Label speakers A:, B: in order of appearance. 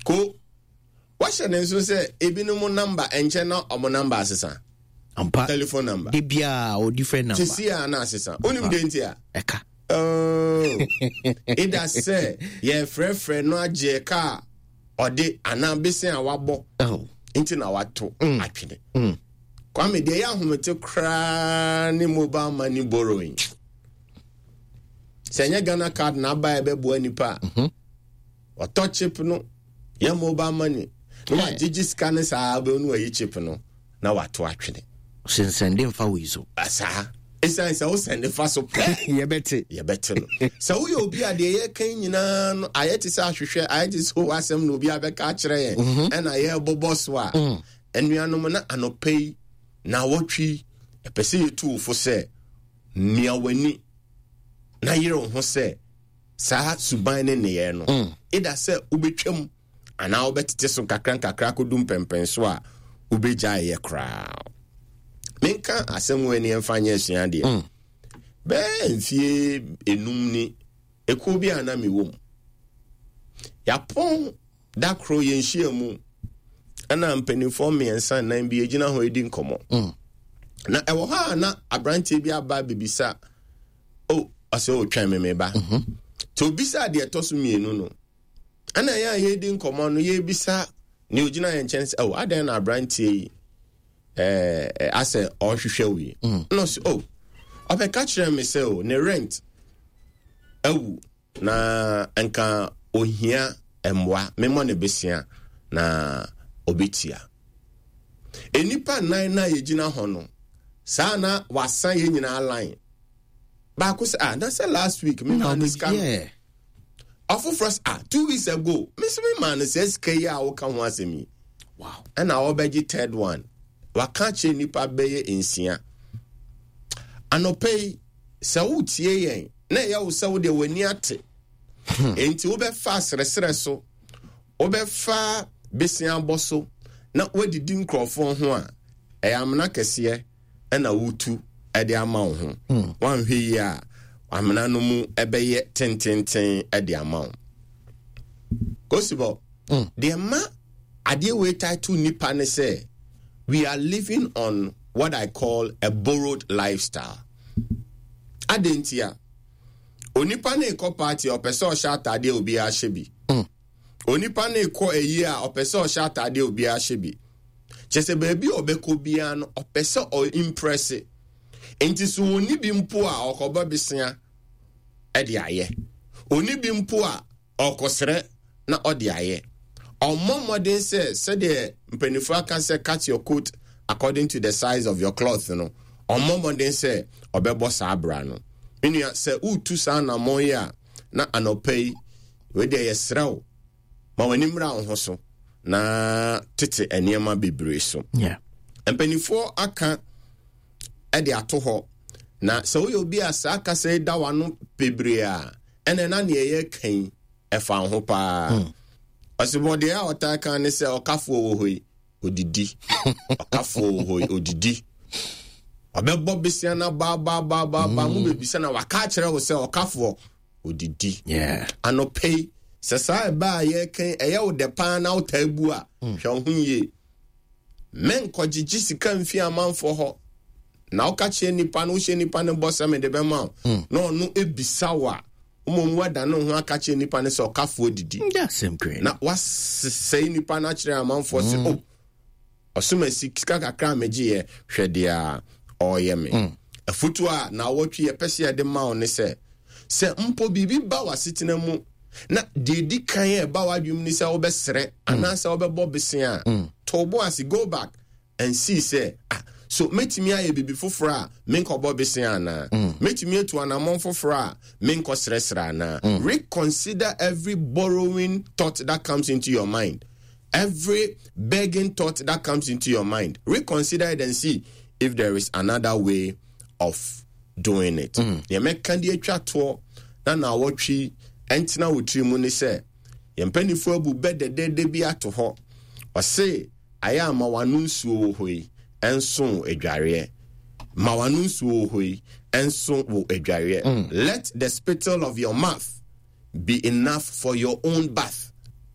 A: Ko wahyɛ ne nso sɛ ebinom namba ɛnkyɛ na ɔmo namba asesa.
B: Ampa.
A: Telephone number.
B: De biara o different number.
A: Sisi a na asesa. Onim de nti a.
B: Ɛka.
A: Oh. Ida sɛ yɛfrɛfrɛ no agye ka a ɔde anaa bese a wabɔ.
B: Oh.
A: Nti na wato atwene. Kwame deɛ ɛyɛ ahomete koraa ne mobile money borrowing. Sɛ ɛnyɛ Ghana card na aba a ɛbɛboa nipa a. Ɔtɔ chip no yɛ mobile money na wagyegye sika no saa bɛn no wayi chip no na wato atwene.
B: Sensɛnde mfa wei so.
A: Saa ɛsiane sɛ wosɛnde fa so pɛ
B: yɛbɛte
A: yɛbɛte no. Sɛ woyɛ obi a deɛ yɛka nyinaa no ayɛ te sɛ ahwehwɛ ayɛ te sɛ w'asɛm na obi abɛka akyerɛ yɛn ɛna yɛrebobɔ so a anuanom na anɔpa yi na awɔtwe yi ɛpɛ sɛ yɛtu wo fo sɛ mia w'ani na yere wo ho sɛ saa suban ne nneyɛɛ no eda sɛ wobɛtwam anaa wobɛtete so nkakra nkakra akɔdu mpɛmpɛn so a wobɛgyae yɛ koraa. Menka asɛm wɔ ani ɛmfa nyɛ asuadeɛ. Bɛɛ mfie enum ni ekuo bi a na mewɔ mu. Yɛapɔn da koro yɛn nhyia mu ɛna mpanimfoɔ mmiɛnsa nnan bi gyina hɔ redi nkɔmmɔ. Na ɛwɔ hɔ a na aberanteɛ bi aba bebisa o ɔsɛ o twɛn me me ba. Nti obisa deɛ ɛtɔ so mmienu no ɛna yɛn a yɛredi nkɔmmɔ no yɛrebisa nea ogyina yɛn nkyɛn sɛ o adɛn na aberanteɛ yi ɛɛ asɛ ɔrehwehwɛ wo yi. Ɛna ɔsɛ o ɔbɛka kyerɛ me sɛ o ne rent awu na nka ohia mmoa memmɔ ne besia na obetua. Nnipa nnan na yɛgyina hɔ no saa na wasan yɛn nyinaa line. Baako sɛ ah na sɛ last week me maa no sika no. Ɔfoforɔ sɛ ah 2 weeks ago me nso me maa no sɛ sika yi a woka ho asɛm yi.
B: Wow.
A: Ɛna ɔbɛgye third one. Waka akyerɛ nnipa bɛyɛ nsia. Anɔpa yi sɛ wotie yɛn na ɛyɛ wo sɛ wodeɛ w'ani ate. Enti wobɛfa asrɛsrɛ so, wobɛfa besiabɔ so na woadidi nkurɔfoɔ ho a, ɛyɛ amena kɛseɛ ɛna wotu ɛde ama wo ho. Woanhwɛ yie a, amena no mu ɛbɛyɛ tententen ɛde ama wo. Kosibɔ, deɛ ma adeɛ wei title nipa ne sɛ, we are living on what I call a borrowed lifestyle. Adɛn nti a? Onipa no rekɔ party a ɔpɛ sɛ ɔhyɛ ataadeɛ a obiara hyɛ bi. Onipa no rekɔ ayie a ɔpɛ sɛ ɔhyɛ ataadeɛ a obiara hyɛ bi. Kyerɛ sɛ baabi a ɔbɛkɔ biara no ɔpɛ sɛ ɔimprɛse. Nti so ɔnni bi mpo a ɔkɔbɔ besea de ayɛ. Ɔnni bi mpo a ɔkɔsrɛ na ɔde ayɛ. Ɔmmɔ mmɔden sɛ sɛdeɛ mpanimfoɔ aka sɛ cut your coat according to the size of your cloth no, ɔmmɔ mmɔden sɛ ɔbɛbɔ saa bra no. Me nua, sɛ woretu saa anammɔn yi a, na anɔpa yi, wei deɛ yɛsrɛ wo, ma w'ani mmra wo ho so na tete nneɛma bebree so. Mpanimfoɔ aka de ato hɔ, na sɛ woyɛ obi a saa kasa yi da w'ano bebree a, ɛnna na nea yɛreka yi ɛfa wo ho paa. Ɔsebɔ deɛ a ɔtaa ka ne sɛ ɔkafoɔ wɔ hɔ yi, odidi. Ɔkafoɔ wɔ hɔ yi, odidi. Ɔbɛbɔ besia na baabaabaabaa mu bebisa na waka akyerɛ wo sɛ ɔkafoɔ odidi. Anɔpa yi, sɛ saa ɛbɛ a yɛreka yi ɛyɛ wo dɛ paa na wotaa bu a, hwɛ wo ho yie. Menkɔgyegye sika mfi amanfoɔ hɔ. Na woka kyerɛ nipa no, wohyɛ nipa no bɔ sɛ mede bɛma wo, na ɔno ebisa wo a, mmom woada ne ho aka kyerɛ nipa no sɛ ɔkafoɔ didi. Na wasesɛe nipa no akyerɛ amanfoɔ sɛ, o, ɔsom asi sika kakra a megyeeɛ, hwɛ deɛ a ɔreyɛ me. Afotuo a naawɔtwe yɛpɛ sɛ yɛde ma wo ne sɛ, sɛ mpo biribi ba w'asetena mu na deɛ ɛdi kan a ɛba w'adwene mu ne sɛ wobɛsrɛ anaasɛ wobɛbɔ besea a, to wo bo ase, go back and see sɛ, ah, so mɛtumi ayɛ biribi foforɔ a menkɔbɔ besea anaa? Mɛtumi atu anammɔn foforɔ a menkɔsrɛsrɛ anaa? Reconsider every borrowing thought that comes into your mind. Every begging thought that comes into your mind. Reconsider it and see if there is another way of doing it. Deɛ mɛka de atwa toɔ na naawɔtwe ɛntena wo tiri mu ne sɛ, yɛn mpanimfoɔ abu bɛ dɛdɛɛdɛ bi ato hɔ. Ɔse, ayɛ a ma w'ano nsuo wɔ hɔ yi ɛnso wo adwareɛ. Ma w'ano nsuo wɔ hɔ yi ɛnso wo adwareɛ. Let the spittle of your mouth be enough for your own bath.